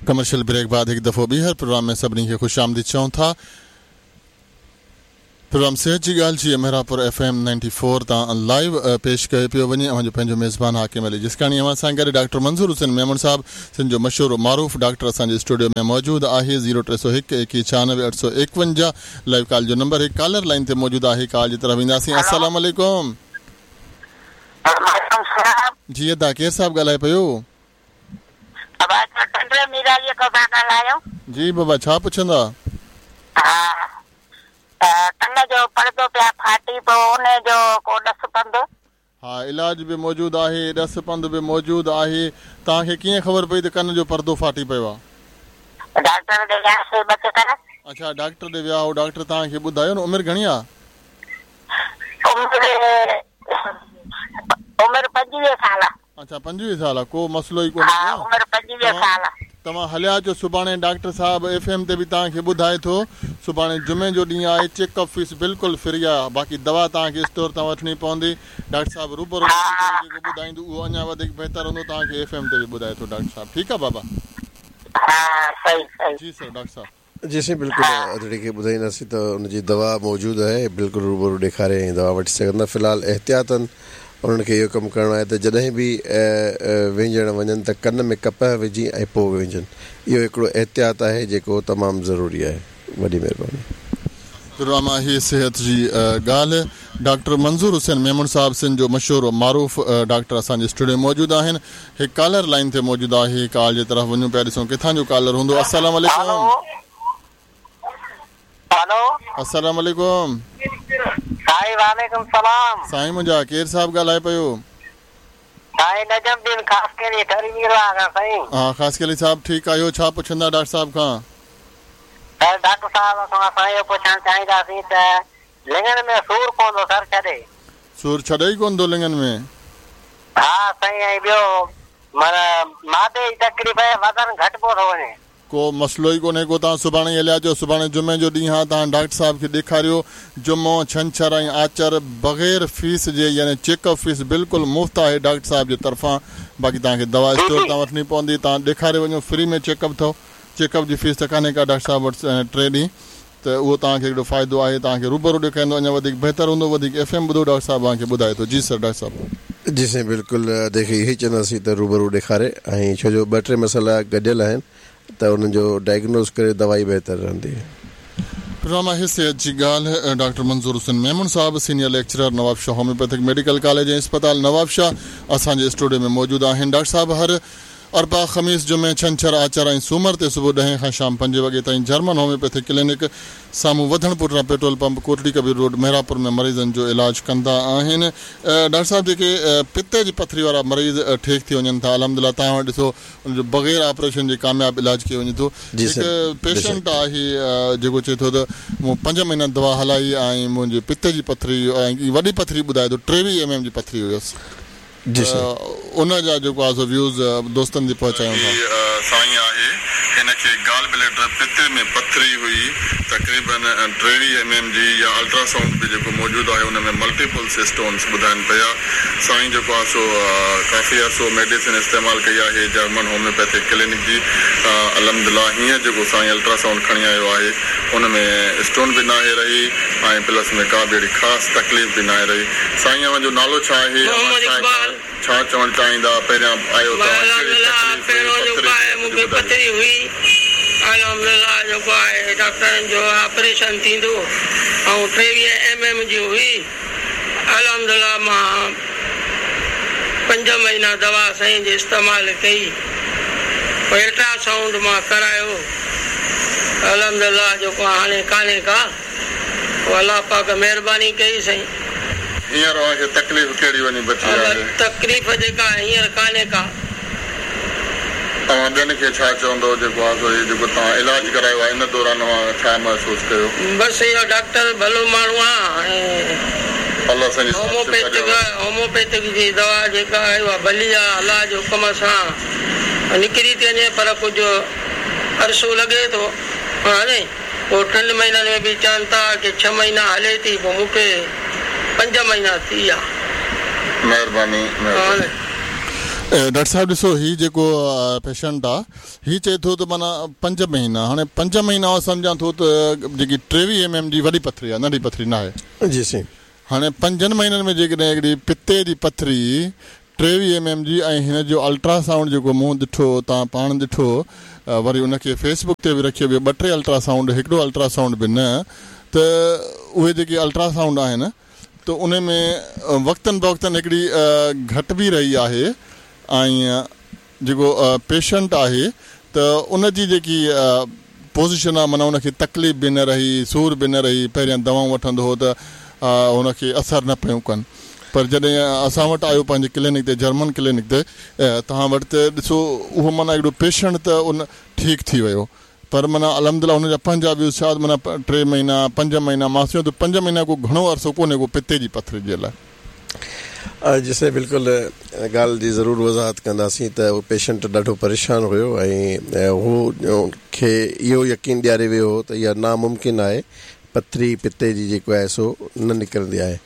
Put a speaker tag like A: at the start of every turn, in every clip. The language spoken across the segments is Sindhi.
A: ڪمرشل بريڪ بعد هڪ دفعو ٻيهر پروگرام ۾ سڀني کي خوش آمديد چئون ٿا. پروگرام صحت جي ڳالهه جي Mehrabpur F M ninety four تان لائيو پيش ڪيو پيو وڃي. اوهان جو پنهنجو ميزبان حاڪم علي جسڪاڻي اوهان سان گڏ ڊاڪٽر منظور حسين ميمڻ صاحب سنڌ جو مشهور و معروف ڊاڪٽر اسان جي اسٽوڊيو ۾ موجود آهي زيرو 301 21 96 851 لائيو ڪال جو نمبر هڪ ڪالر لائين تي موجود آهي ڪال جي طرف وينداسين السلام عليڪم.
B: وعليڪم السلام.
A: جي ادا ڪير صاحب ڳالهائي پيو.
B: بابا اسان ٽنڊي ميراليء کان ٿا ڳالهايون.
A: جي بابا ڇا پڇندا.
B: ها ته ڪن جو پڙدو پيا ڦاٽي پيو انهي جو ڪو ڏس پنڌ.
A: ها علاج به موجود آهي ڏس پنڌ به موجود آهي توهان کي ڪيئن خبر پئي ته ڪن جو پردو ڦاٽي پيو آ.
B: ڊاڪٽر ڏي وياسي ٻه چڪر.
A: اڇا ڊاڪٽر ڏي ويا هو ڊاڪٽر توهان کي ٻڌايو نه عمر گهڻي آ.
B: عمر عمر 25 سال.
A: اڇا 25 سال آ ڪو مسئلو ئي ڪونهي
B: ها عمر 25 سال.
A: توهان هليا اچو سڀاڻي ڊاڪٽر صاحب ايف ايم تي به توهان کي ٻڌائي ٿو سڀاڻي جمعي جو ڏينهن آهي چيڪ اپ فيس بلڪل فري آ باقي دوا توهان کي اسٽور تان وٺڻي پوندي ڊاڪٽر صاحب روبرو اچي ڪري جيڪو ٻڌائيندو اهو اڃا وڌيڪ بهتر هوندو توهان کي ايف ايم تي به ٻڌائي ٿو ڊاڪٽر صاحب ٺيڪ آ بابا.
B: ها صحيح صحيح.
A: جي سر ڊاڪٽر صاحب.
C: جي سائين بلڪل ادڙي کي ٻڌائينداسين ته ان جي دوا موجود آهي بلڪل روبرو ڏيکاري ۽ دوا وٺي سگهندا في الحال احتياطن انهن کي اهو ڪم ڪرڻو آهي ته جڏهن به وهنجڻ وڃن ته ڪن ۾ ڪپهه وجهي ۽ پوء وهنجن اهو هڪڙو احتياط آهي جيڪو تمام ضروري آهي وڏي مهرباني.
A: پروگرام آهي صحت جي ڳالهه ڊاڪٽر منظور حسين ميمڻ صاحب سنڌ جو مشهور و معروف ڊاڪٽر اسان جي اسٽوڊيو ۾ موجود آهن هڪ ڪالر لائين تي موجود آهي ڪال جي طرف وڃون پيا ڏسون ڪٿان جو ڪالر هوندو السلام عليڪم
B: هلو
A: السلام عليڪم
B: سائين وعليڪم السلام
A: سائين منهنجا ڪير صاحب ڳالهائي پيو.
B: سائين نجم الدين خاصخيلي ٺري ميرواهه کان سائين.
A: ها خاصخيلي صاحب ٺيڪ آهيو ڇا پڇندا ڊاڪٽر صاحب کان.
B: سر ڊاڪٽر صاحب کان اسان اهو پڇڻ چاهينداسين ته لڱن ۾ سور ڪونه ٿو سر ڇڏي.
A: سور ڇڏي ئي ڪونه ٿو لڱن ۾.
B: ها سائين ۽ ٻيو معنيٰ معدي جي تڪليف ۽ وزن گهٽبو ٿو وڃي.
A: ڪو مسئلو ئي ڪونهي ڪو توهان سڀاڻي ئي هليا اچو سڀاڻي جمعي جو ڏينهن آ توهان ڊاڪٽر صاحب کي ڏيکاريو جمعو ڇنڇر ۽ آچر بغير فيس جي يعني چيڪ اپ فيس بلڪل مفت آهي ڊاڪٽر صاحب جي طرفان باقي توهان کي دوا اسٽور تان وٺڻي پوندي توهان ڏيکاري وڃو فري ۾ چيڪ اپ اٿو چيڪ اپ جي فيس ته ڪانهي ڪا ڊاڪٽر صاحب وٽ ٽي ڏينهن ته اهو توهان کي هڪڙو فائدو آهي توهان کي روبرو ڏيکاريندو اڃا وڌيڪ بهتر هوندو وڌيڪ ايف ايم ٻڌو ڊاڪٽر صاحب اوهان کي ٻڌائي ٿو جي سر ڊاڪٽر صاحب.
C: جي سائين بلڪل ادي کي اهو ئي چونداسين ته روبرو ڏيکاري ۽ ڇو جو ٻه ٽي مسئلا گڏيل آهن ته انهن جو ڊائگنوز ڪري دوائي بهتر رهندي.
A: پروگرام آهي صحت جي ڳالهه ڊاڪٽر منظور حسين ميمڻ صاحب senior lecturer Nawabshah homeopathic medical college ۽ اسپتال نوابشاهه اسان جي اسٽوڊيو ۾ موجود آهن ڊاڪٽر صاحب هر اربع، خميس، جمعي، ڇنڇر، آچر ۽ سومر تي صبح ڏهين کان شام پنجين وڳي تائين جرمن هوميوپيٿڪ ڪلينڪ سامهون وڌڻ پٺيان petrol pump Kotri Kabir road Mehrapur ۾ مريضن جو علاج ڪندا آهن. ڊاڪٽر صاحب جيڪي پتي جي پٿري وارا مريض ٺيڪ ٿي وڃن ٿا الحمدلله توهان وٽ ڏسو ان جو بغير آپريشن جي ڪامياب علاج ڪيو وڃي ٿو
C: جي
A: هڪ
C: سر بيشڪ.
A: پيشنٽ آهي جيڪو چئي ٿو ته مون پنج مهينا دوا هلائي ۽ منهنجي پتي جي پٿري ۽ وڏي پٿري ٻڌائي ٿو 23 ايم ايم جي پٿري هيس.
C: جي سائين.
A: ان جا جيڪو آهي سو ويوز دوستن تي پهچايون ٿا. هي سائين آهي هن کي گال بليڊر پتي ۾ پٿري هئي تقريبن 23 ايم ايم جي يا الٽرا سائونڊ به جيڪو موجود آهي ان ۾ ملٽيپلس اسٽونس ٻڌائن پيا سائين جيڪو آهي سو ڪافي عرصو ميڊيسن استعمال ڪئي آهي جرمن هوميوپيٿڪ ڪلينڪ جي الحمدلله هينئر جيڪو سائين الٽرا سائونڊ کڻي آيو آهي ان ۾ اسٽون به ناهي رهي ۽ پلس ۾ ڪا به اهڙي خاص تڪليف به ناهي رهي سائين اوهان جو نالو ڇا آهي؟ اوهان
D: محمد
A: ڇا
D: اقبال.
A: ڇا چوڻ چاهيندا؟ پهريان آيو توهان ڪهڙي
D: الحمدلله
A: تڪليف هئي
D: پهريون
A: پٿري
D: جيڪو آهي
A: جي
D: مون
A: ڪجهه
D: کي
A: ٻڌايو.
D: پٿري هئي الحمدلله جيڪو آهي ڊاڪٽرن جو آپريشن ٿيندو ۽ 23 ايم ايم جي هئي الحمدلله مان پنج مهينا دوا سائين جي استعمال ڪئي پوء الٽرا سائونڊ مان ڪرايو الحمدلله جيڪو هاڻي ڪانهي ڪا. پوء الله پاڪ مهرباني ڪئي سائين.
A: هينئر اوهان کي تڪليف ڪهڙي وڃي بچي آهي؟
D: تڪليف جيڪا هينئر ڪانهي ڪا.
A: اوهان ٻين کي ڇا چوندؤ جيڪو آهي سو هي جيڪو توهان علاج ڪرايو آهي ان دوران اوهان ڇا محسوس ڪيو؟
D: بس اهو ڊاڪٽر ڀلو ماڻهو آ ۽
A: الله سائين جي ذات شفا ڏيڻ.
D: هوميوپيٿڪ جي دوا جيڪا آهي اها ڀلي آ الله جي حڪم سان نڪري ٿي وڃي پر ڪجهه عرصو لڳي ٿو هاڻي. پوء ٽن مهينن ۾ به چون ٿا ڪي ڇهه مهينا هلي ٿي پوء مون کي پنج مهينا ٿي ويا.
A: مهرباني مهرباني. ڊاڪٽر صاحب ڏسو هي جيڪو پيشنٽ آ هي چئي ٿو ته معنيٰ پنج مهينا هاڻي پنج مهينا آئون سمجهان ٿو ته جيڪي ٽيويهه ايم ايم جي وڏي پٿري آ ننڍي پٿري ناهي.
C: جي سائين.
A: هاڻي پنجن مهينن ۾ جيڪڏهن هڪڙي پتي جي پٿري ٽيويهه ايم ايم جي ۽ هن جو الٽرا سائونڊ جيڪو مون ڏٺو توهان پاڻ ڏٺو وري ان کي فيس بڪ تي به رکيو ويو ٻه ٽي الٽرا سائونڊ هڪڙو الٽرا سائونڊ به نه ته اهي جيڪي الٽرا سائونڊ آهن ته ان ۾ وقتن بوقتن هڪڙي گهٽ به رهي آهي ۽ جيڪو پيشنٽ آهي ته ان جي جيڪي پوزيشن آهي معنيٰ ان کي تڪليف به نه رهي سور به نه رهي پهريان دوائون وٺندو هو ته ان کي اثر نه پيون ڪن پر جڏهن اسان وٽ آيو پنهنجي ڪلينڪ تي جرمن ڪلينڪ تي توهان وٽ ته ڏسو اهو معنيٰ هڪڙو پيشنٽ ته ان ٺيڪ ٿي ويو پر معنيٰ الحمدلله هن جا پنهنجا ويوز شايد معنيٰ ٽي مهينا پنج مهينا مان سمجهان ٿو پنج مهينا ڪو گهڻو عرصو ڪونهي ڪو پتي جي پٿري جي لاء.
C: جي سائين بلڪل ان ڳالهه جي ضرور وضاحت ڪنداسين ته اهو پيشنٽ ڏاڍو پريشان هيو ۽ هو کي اهو يقين ڏياري ويو هو ته اها ناممڪن آهي پٿري پتي جي جيڪو آهي سو نه نڪرندي آهي.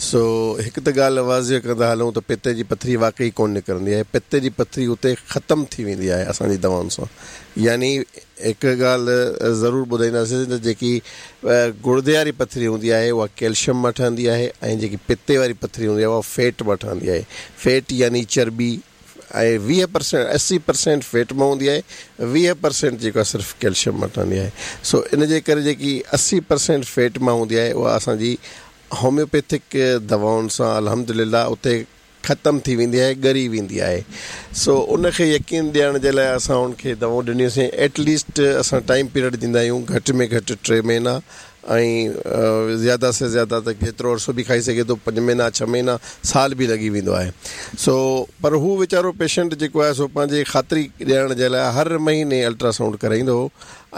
C: سو هڪ ته ڳالهه واضح ڪندا هلون ته پتي جي پٿري واقعي ڪونه نڪرندي آهي. پتي جي پٿري اتي ختم ٿي ويندي آهي اسان جي دوائن سان. يعني هڪ ڳالهه ضرور ٻڌائينداسين ته جيڪي گڙدي واري پٿري هوندي آهي اها ڪيلشم مان ٺهندي آهي ۽ جيڪي پتي واري پٿري هوندي آهي اها فيٽ مان ٺهندي آهي. فيٽ يعني چرٻي ۽ 20 پرسينٽ 80 پرسينٽ فيٽ مان هوندي آهي 20 پرسينٽ جيڪو آهي صرف ڪيلشم مان ٺهندي آهي سو ان جي ڪري جيڪي 80 پرسينٽ فيٽ مان هوندي آهي اها اسان جي هوميوپيٿڪ دوائن سان الحمدلله اتي ختم ٿي ويندي آهي ڳري ويندي آهي سو ان کي يقين ڏيارڻ جي لاء اسان ان کي دوائون ڏنيونسين ايٽ ليسٽ اسان ٽائيم پيريڊ ڏيندا آهيون گهٽ ۾ گهٽ ٽي مهينا ۽ زياده سي زياده ته جيترو عرصو به کائي سگهي ٿو پنج مهينا ڇهه مهينا سال به لڳي ويندو آهي سو پر هو ويچارو پيشنٽ جيڪو آهي سو پنهنجي خاطري ڏيارڻ جي لاء هر مهيني الٽرا سائونڊ ڪرائيندو هو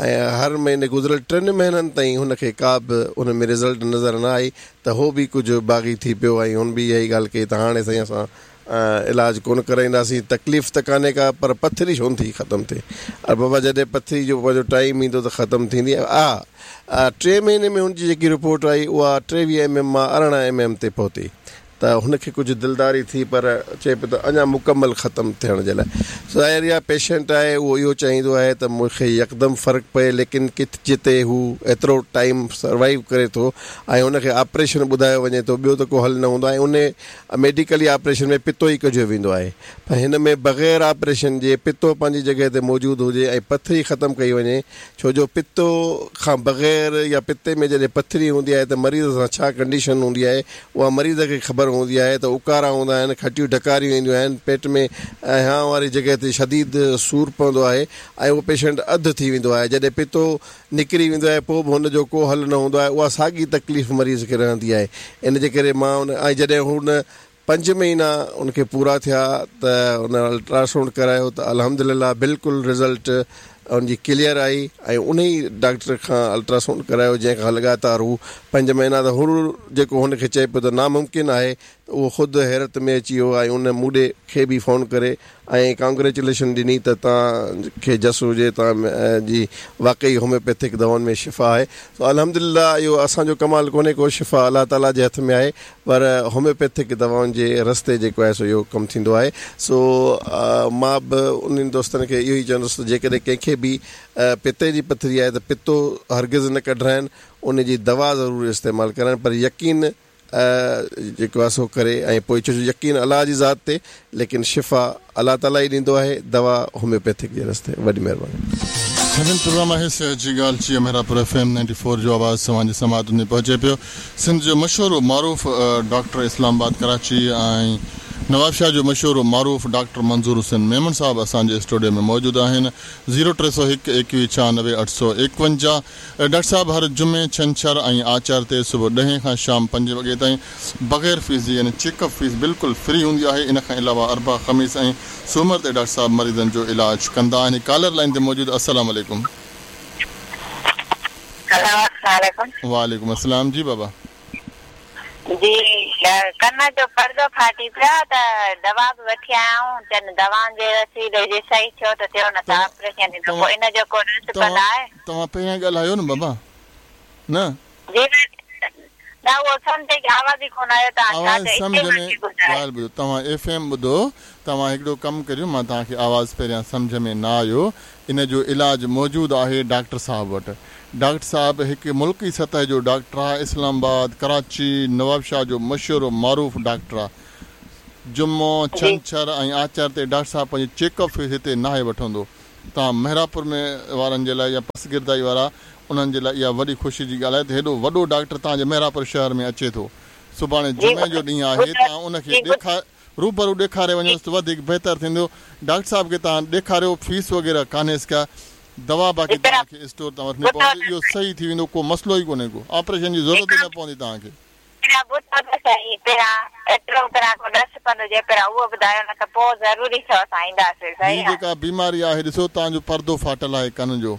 C: ۽ هر مهيني گذريل ٽن مهينن تائين هن کي ڪا به ان ۾ رزلٽ نظر نه آئي ته هو به ڪجهه باغي ٿي پيو ۽ هن به اها ئي ڳالهه ڪئي ته هاڻي سائين اسان علاج ڪونه ڪرائينداسين، تڪليف ته ڪانهي ڪا پر پٿري ڇو نٿي ختم ٿئي؟ اري بابا جڏهن پٿري جو پنهنجو ٽائيم ايندو ته ختم ٿيندي. ها ٽئين مهيني ۾ هن جي جيڪي رپورٽ آئي اها 23 ايم ايم مان 18 ايم ايم تي پهتي ته هن کي ڪجهه دلداري ٿي پر چئي پيو ته اڃا مڪمل ختم ٿيڻ جي لاء ظاهر آهي پيشنٽ آهي اهو اهو چاهيندو آهي ته مون کي يڪدم فرق پئي ليڪن ڪٿ جتي هو ايترو ٽائيم سروائيو ڪري ٿو ۽ هن کي آپريشن ٻڌايو وڃي ٿو ٻيو ته ڪو حل نه هوندو آهي ۽ انهي ميڊيڪلي آپريشن ۾ پتو ئي ڪڍيو ويندو آهي پر هن ۾ بغير آپريشن جي پتو پنهنجي جڳهه تي موجود هجي ۽ پٿري ختم ڪئي وڃي ڇو جو پتو کان بغير يا پتي ۾ جڏهن پٿري هوندي آهي ته مريض سان ڇا ڪنڊيشن هوندي آهي اها مريض کي خبر هوندي آهي ته اڪارا هوندا آهن کٽيون ڍڪاريون اينديون آهن پيٽ ۾ ۽ هانء واري جڳهه تي شديد سور پوندو آهي ۽ اهو پيشنٽ اڌ ٿي ويندو آهي جڏهن پتو نڪري ويندو آهي پوء به هن جو ڪو حل نه هوندو آهي اها ساڳي تڪليف مريض کي رهندي آهي ان جي ڪري مان ان ۽ جڏهن هن پنج مهينا ان کي پورا ٿيا ته ان الٽراسائونڊ ڪرايو ته الحمدلله بلڪل رزلٽ ان جي ڪليئر آئي ۽ ان ئي ڊاڪٽر کان الٽراسائونڊ ڪرايو جنهن کان لڳاتار هو پنج مهينا ته هو جيڪو هن کي چئي پيو ته ناممڪن آهي ته اهو خود حيرت ۾ اچي ويو ۽ ان مون ڏي کي به فون ڪري ۽ ڪانگريچوليشن ڏني ته توهان کي جس هجي توهان جي واقعي هوميوپيٿڪ دوائن ۾ شفا آهي سو الحمدلله اهو اسان جو ڪمال ڪونهي ڪو شفا الله تعالي جي هٿ ۾ آهي پر هوميوپيٿڪ دوائن جي رستي جيڪو آهي سو اهو ڪم ٿيندو آهي سو مان به انهن دوستن کي اهو ئي چوندس ته جيڪڏهن ڪنهن کي به پتي جي پٿري آهي ته پتو هرگز نه ڪڍرائن ان جي دوا ضرور استعمال ڪرائن پر يقين جيڪو آهي سو ڪري ۽ پوء ڇو جو يقين الله جي ذات تي ليڪن شفا الله تعالي ئي ڏيندو آهي دوا هوميوپيٿڪ جي رستي وڏي مهرباني.
A: سائين پروگرام آهي صحت جي ڳالهه چيء Mehrabpur F M ninety four جو آواز توهان جي سماعتن تائين پهچي پيو سنڌ جو مشهور و معروف ڊاڪٽر اسلام آباد ڪراچي ۽ نوابشاهه جو مشهور و معروف ڊاڪٽر منظور حسين ميمڻ صاحب اسان جي اسٽوڊيو ۾ موجود آهن زيرو 301 21 96 851 ڊاڪٽر صاحب هر جمعي، ڇنڇر ۽ آچر تي صبح ڏهين کان شام پنجين وڳي تائين بغير فيس جي يعني چيڪ اپ فيس بلڪل فري هوندي آهي ان کان علاوه اربع، خميس ۽ سومر تي ڊاڪٽر صاحب مريضن جو علاج ڪندا آهن ڪالر لائين تي موجود السلام عليڪم.
B: هلو السلام عليڪم.
A: وعليڪم السلام جي بابا.
B: جي ڪن جو پردو ڦاٽي پيو آ ته دوا به وٺي آيا آهيون چون دوائن جي وسيلي جي صحيح ٿيو ته ٿيو نه ته آپريشن ٿيندو پوء ان جو ڪو رس پل آهي.
A: توهان پهريان ڳالهايو نه بابا نه.
B: جي نه اهو سمجهه کي آواز ئي ڪونه آيو توهان ڇا
A: آواز
B: چيو
A: سمجهه
B: اتي
A: ۾
B: مان کي ٻڌايو.
A: ڳالهه ٻڌو توهان ايف ايم ٻڌو توهان هڪڙو ڪم ڪريو مان توهان کي آواز پهريان سمجهه ۾ نه آيو ان جو علاج موجود آهي ڊاڪٽر صاحب وٽ ڊاڪٽر صاحب هڪ ملڪي سطح جو ڊاڪٽر آهي اسلام آباد ڪراچي نوابشاهه جو مشهور و معروف ڊاڪٽر آهي جمعو
B: جي
A: ڇنڇر ۽ آچر تي ڊاڪٽر صاحب پنهنجي چيڪ اپ فيس هتي ناهي وٺندو توهان محرابپور ۾ وارن جي لاء يا پسگردائي وارا انهن جي لاء اها وڏي خوشي جي ڳالهه آهي ته هيڏو وڏو ڊاڪٽر توهان جي محرابپور شهر ۾ اچي ٿو. سڀاڻي
B: جي
A: جمعي جو ڏينهن آهي
B: ٻڌو
A: توهان ان کي
B: جي ٻڌو
A: ڏيکار روبرو ڏيکاري
B: جي
A: وڃوس ته وڌيڪ بهتر ٿيندو. ڊاڪٽر صاحب کي توهان ڏيکاريو فيس وغيره ڪانهيس ڪا دوا
B: جي
A: باقي
B: پهريان
A: توهان کي اسٽور تان وٺڻي
B: ٻڌو
A: پوندي
B: ته
A: اهو صحيح ٿي ويندو ڪو مسئلو ئي ڪونهي ڪو آپريشن جي ضرورت ئي
B: جي
A: نه پوندي توهان کي.
B: پهريان ٻڌو ته سهي پهريان ايترو پهريان ڪو ڏس پنڌ هجي پهريان اهو ٻڌايو نه ته پوء ضروري ٿيو اسان اينداسين
A: هي
B: صحيح آ.
A: جيڪا بيماري آهي ڏسو توهان جو پردو ڦاٽل آهي ڪن جو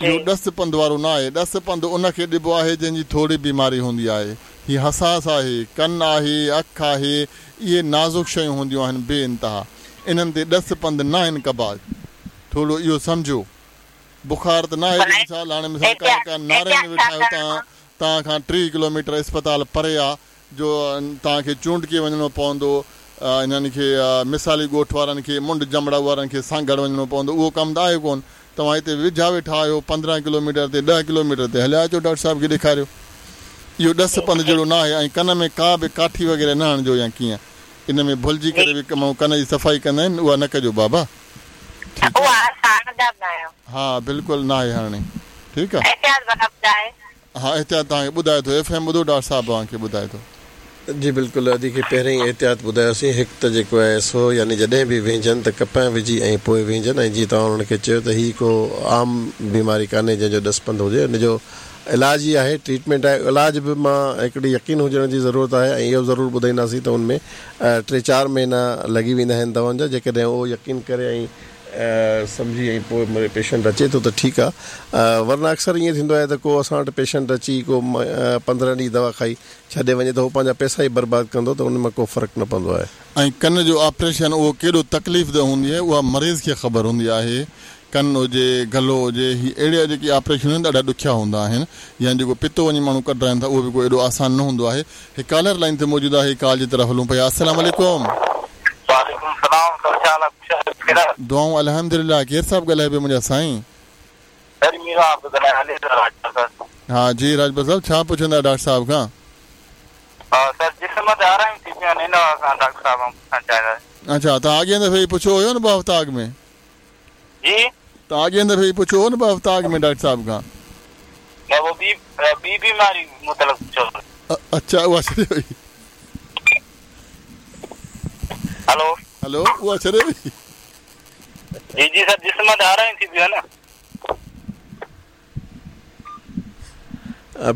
B: جي.
A: اهو ڏس پنڌ وارو نه آهي ڏس پنڌ ان کي ڏبو آهي جنهن جي ٿوري بيماري هوندي آهي هي حساس آهي ڪن آهي اک آهي اهي نازڪ شيون هونديون آهن بي انتها انهن تي ڏس پنڌ ناهن ڪبا ٿورو اهو سمجهو بخار ته ناهي جو مثال هاڻي مثال ڪا ڪا ناري ۾ ويٺا آهيو توهان توهان کان 30 ڪلوميٽر اسپتال پري آ جو توهان کي چونڊڪي وڃڻو پوندو انهن کي مثالي ڳوٺ وارن کي منڍ جمڙائو وارن کي سانگهڙ وڃڻو پوندو اهو ڪم ته آهي ڪون توهان هتي ويجها ويٺا آهيو 15 ڪلوميٽر تي 10 ڪلوميٽر تي هليا اچو ڊاڪٽر صاحب کي ڏيکاريو اهو ڏس پنڌ جهڙو نه آهي ۽ ڪن ۾ ڪا به ڪاٺي وغيره نه هڻجو يا ڪيئن ان ۾ ڀلجي ڪري به ماڻهو ڪن جي صفائي ڪندا آهن اها نه ڪجو بابا. ٺيڪ
B: اها اسان هڻندا به ناهيون.
A: ها بلڪل ناهي هڻڻي ٺيڪ آ.
B: احتياط ڀلا ٻڌائي.
A: ها احتياط توهان کي ٻڌائي ٿو ايف ايم ٻڌو ڊاڪٽر صاحب اوهان کي ٻڌائي ٿو.
C: جي بلڪل ادي کي پهرين ئي احتياط ٻڌايوسين هڪ ته جيڪو آهي سو يعني جڏهن به وهنجن ته ڪپهه وجهي ۽ پوء وهنجن ۽ جيئن توهان انهن کي چيو ته هي ڪو عام بيماري ڪانهي جنهن جو ڏس پنڌ هجي ان جو علاج ئي آهي ٽريٽمينٽ آهي علاج به مان هڪڙي يقين هجڻ جي ضرورت آهي ۽ اهو ضرور ٻڌائينداسين ته ان ۾ ٽي چار مهينا لڳي ويندا آهن دوائن جا جيڪڏهن اهو يقين ڪري ۽ سمجهي ۽ پوء پيشنٽ اچي ٿو ته ٺيڪ آهي ورنه اڪثر ائين ٿيندو آهي ته ڪو اسان وٽ پيشنٽ اچي ڪو 15 ڏينهن دوا کائي ڇڏي وڃي ته هو پنهنجا پئسا ئي برباد ڪندو ته ان مان ڪو فرق نه پوندو آهي.
A: ۽ ڪن جو آپريشن اهو ڪيڏو تڪليف ده هوندي آهي اها مريض کي خبر هوندي آهي ڪن هجي، گلو هجي، هي اهڙا جيڪي آپريشن آهن ڏاڍا ڏکيا هوندا آهن يا جيڪو پتو وڃي ماڻهو ڪڍرائين ٿا اهو به ڪو ايڏو آسان نه هوندو آهي. هڪ ڪالر لائين تي موجود آهي ڪال جي طرف هلون پيا السلام عليڪم.
E: وعليڪم السلام سر ڇا حال آ خوش آهيو خير آ.
A: دعائون الحمدلله ڪير صاحب ڳالهائي پيو منهنجا سائين.
E: سر ميران پيو ڳالهايان علي رضا راڄپر سر.
A: ها جي راڄپر صاحب ڇا پڇندا ڊاڪٽر صاحب کان.
E: ها سر جسم تي آرايون ٿي پيون آهن ان حوالي سان ڊاڪٽر صاحب کان پڇڻ چاهينداسين.
A: اڇا توهان اڳئين دفعي پڇيو هيو نه ٻه هفتا اڳ ۾.
E: جي.
A: توهان اڳئين دفعي پڇيو هو نه ٻه هفتا اڳ ۾ ڊاڪٽر صاحب کان.
E: نه اهو ٻي ٻي بيماري متعلق پڇيو هو.
A: اڇا اها ڇڏي وئي.
E: هلو.
A: هلو اها ڇڏي وئي.
E: جي جي سر جسم تي آرايون ٿي پيون نه.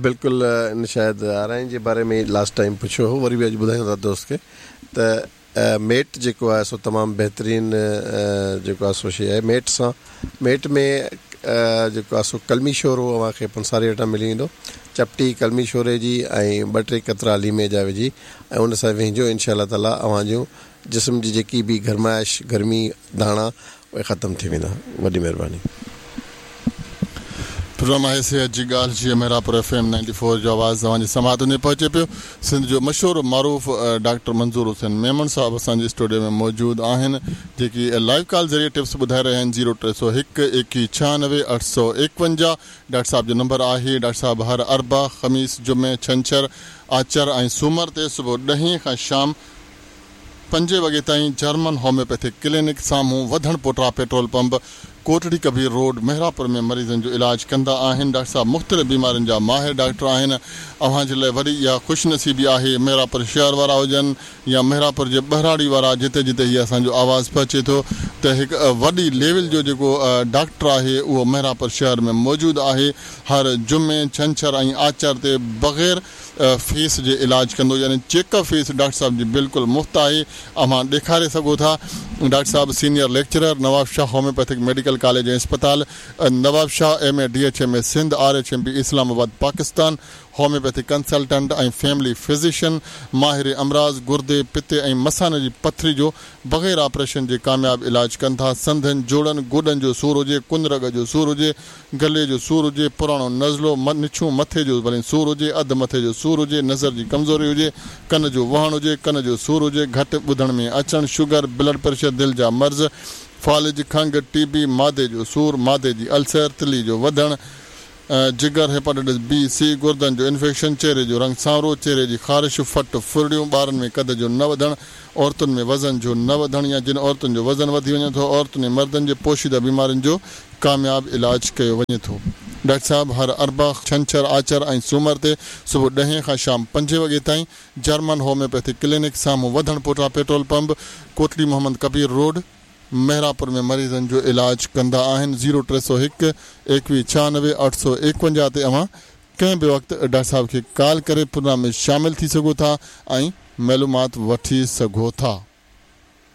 C: بلڪل ان شايد آرائين جي باري ۾ لاسٽ ٽائيم پڇيو هو وري به اڄ ٻڌايون ٿا دوست کي ته ميٽ جيڪو آهي سو تمام بهترين جيڪو آهي سو شيء آهي ميٽ سان ميٽ ۾ جيڪو آهي سو ڪلمي شورو اوهان کي پنساري وٽان ملي ويندو چپٽي ڪلمي شوري جي ۽ ٻه ٽي قطرا ليمي جا وجهي ۽ ان سان وهنجو انشاء الله تعالي اوهان جون جسم جي جيڪي به گرمائش گرمي داڻا اهي ختم ٿي ويندا وڏي مهرباني.
A: پروگرام آهي صحت جي ڳالهه جي Mehrabpur F M ninety four جو آواز اوهان جي سماعتن تائين پهچي پيو سنڌ جو مشهور و معروف ڊاڪٽر منظور حسين ميمڻ صاحب اسان جي اسٽوڊيو ۾ موجود آهن جيڪي لائيو ڪال ذريعي ٽپس ٻڌائي رهيا آهن زيرو 301 21 96 851 ڊاڪٽر صاحب جو نمبر آهي ڊاڪٽر صاحب هر اربع خميس جمعي ڇنڇر آچر ۽ سومر تي صبح ڏهين کان شام پنجين وڳي تائين جرمن هوميوپيٿڪ ڪلينڪ سامهون وڌڻ پوٽا petrol pump Kotri Kabir road Mehrabpur ۾ مريضن جو علاج ڪندا آهن ڊاڪٽر صاحب مختلف بيمارين جا ماهر ڊاڪٽر آهن اوهان جي لاء وڏي اها خوش نصيبي آهي محرابپور شهر وارا هجن يا محرابپور جي ٻهراڙي وارا جتي جتي هي اسان جو آواز پهچي ٿو ته هڪ وڏي ليول جو جيڪو ڊاڪٽر آهي اهو محرابپور شهر ۾ موجود آهي هر جمعي ڇنڇر ۽ آچر تي بغير فيس جي علاج ڪندو يعني چيڪ اپ فيس ڊاڪٽر صاحب جي بلڪل مفت آهي اوهان ڏيکاري سگهو ٿا ڊاڪٽر صاحب senior lecturer Nawabshah homeopathic medical college ۽ اسپتال Nawabshah M A D H M A Sindh R H M P Islamabad Pakistan homeopathic consultant ۽ family physician, ماهر امراض گردي، پتي ۽ مثاني جي پٿري جو بغير آپريشن جي ڪامياب علاج ڪن ٿا. سنڌن، جوڙن، گوڏن جو سور هجي، ڪن رڳ جو سور هجي، گلي جو سور هجي، پراڻو نزلو، نڇون، مٿي جو ڀلين سور هجي، اڌ مٿي جو سور هجي، نظر جي ڪمزوري هجي، ڪن جو وهڻ هجي، ڪن جو سور هجي، گهٽ ٻڌڻ ۾ اچڻ، شگر، بلڊ پريشر، دل جا مرض، فالج، کنگهه، ٽي بي، معدي جو سور، معدي جي السر، تلي جو وڌڻ، جگر، هيپاٽائٽس بي، سي، گردن جو انفيڪشن، چهري جو رنگ سانورو، چهري جي خارش، ڦٽ، ڦرڙيون، ٻارن ۾ قد جو نه وڌڻ، عورتن ۾ وزن جو نه وڌڻ يا جن عورتن جو وزن وڌي وڃي ٿو، عورتن ۽ مردن جي پوشيده بيمارين جو ڪامياب علاج ڪيو وڃي ٿو. ڊاڪٽر صاحب هر اربع، ڇنڇر، آچر ۽ سومر تي صبح ڏهين کان شام پنجين وڳي تائين جرمن هوميوپيٿڪ ڪلينڪ سامهون وڌڻ پوٽا petrol pump, Kotli Muhammad Kabir road, Mehrapur ۾ مريضن جو علاج ڪندا آهن زيرو 301 21 96 851 تي اوهان ڪنهن به وقت ڊاڪٽر صاحب کي ڪال ڪري پروگرام ۾ شامل ٿي سگهو ٿا ۽ معلومات وٺي سگهو ٿا.